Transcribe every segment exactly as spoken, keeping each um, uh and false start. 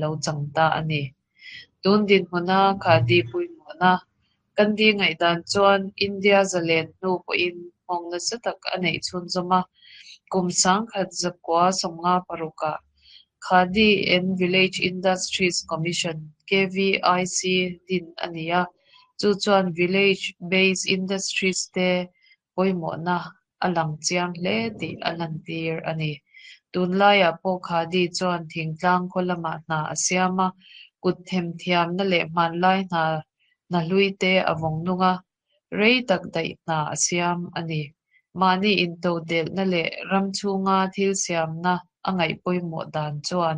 lo chang ta a ni. Tun dinhmuna Khadi pawimawhna Gandhi ngaihdan chuan India zalen hnu pawhin nghawng nasa tak a neih chhunzawm a, kum sangkhat zakua sawmnga parukah Khadi and Village Industries Commission K V I C din a ni a, chu chuan village based industries te pawimawhna a lang chiang hle tih a lantir a ni. Tunlaiah pawh Khadi chuan thingtlang khaw lamah hna a siam a, kut themthiamna leh hmanlai hna hna hlui te a vawng nung a, rei tak daih hna a siam a ni. Mahni intodelhna leh ram chhunga thil siamna a ngaih pawimawh dan chuan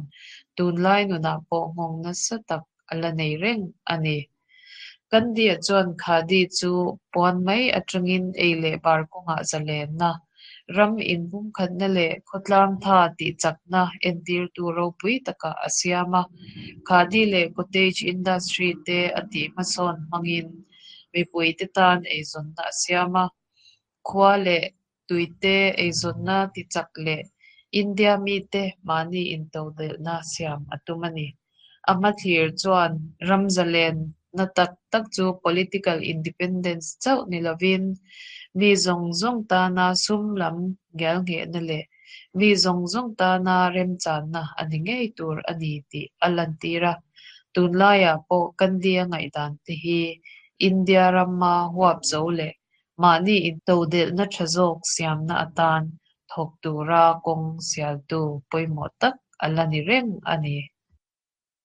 tunlai nunah pawh nghawng nasa tak a la nei reng a ni. Gandhi-a chuan Khadi chu puan mai atangin ei leh bar kawngah zalenna, ram inpumkhatna leh khawtlang tha tih chakna entirtu ropui takah a siam a. Khadi leh cottage industry te a tih hmasawn hmangin mipuite tan eizawnna a siam a. Khua leh tuite eizawnna tichak leh India mite mahni intodelhna siam a tum a ni. A hmathlir chuan ram zalenna tak tak chu political independence chauh ni lovin mi zawng zawng tana sum lam ngialnghehna leh mi zawng zawng tana remchanna a ni ngei tur a ni tih a lantir a. Tunlaiah pawh Gandhi-a ngaihdan te hi India rama huap zo leh mahni intodelhna tha zawk siamna atan thawk tura kawng sialtu pawimawh tak a la ni reng a ni.